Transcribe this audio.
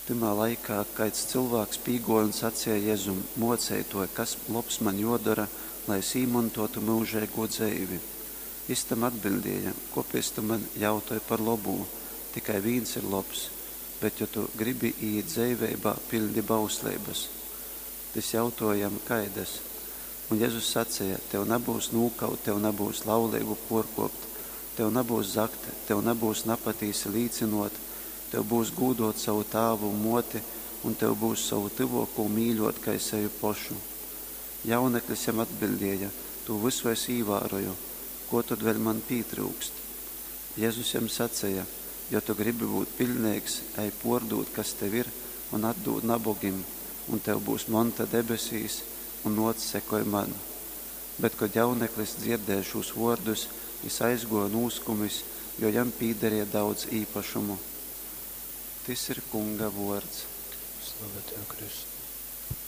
Tymā laikā kaids cylvāks pīgōja un saceja Jezum, Mōceitōj, kas lobs maņ jōdora, lai es īmontōtu myužeigū dzeivi? Jys tam atbiļdēja, Kōpēc tu maņ jautoj par lobū? Tikai vīns ir lobs. Bet, jo tu gribi īīt dzeiveibā, piļdi bausleibas. Tys jautōja jam, Kaidas? Un Jezus saceja, Tev nabyus nūkaut, tev nabyus lauleibu pōrkōpt, tev nabyus zagt, tev nabyus napatīsi līcynōt, tev byus gūdōt sovu tāvu un mōti, un tev byus sovu tyvōkū mīļōt kai sevi pošu. Jauneklis jam atbiļdēja, Tū vysu es īvāroju. Kō tod vēļ man pītryukst? Jezus jam saceja, Jo tu gribi būt piļneigs, ej pōrdūd, kas tev ir, un atdūd nabogim, un tev byus monta debesīs, un nōc, sekoj man. Bet, kod jauneklis dzierdēja šūs vōrdus, jys aizgōja nūskumis, jo jam pīdarēja daudz īpašumu. Tys ir Kunga vōrds. Slava tev, Kristus!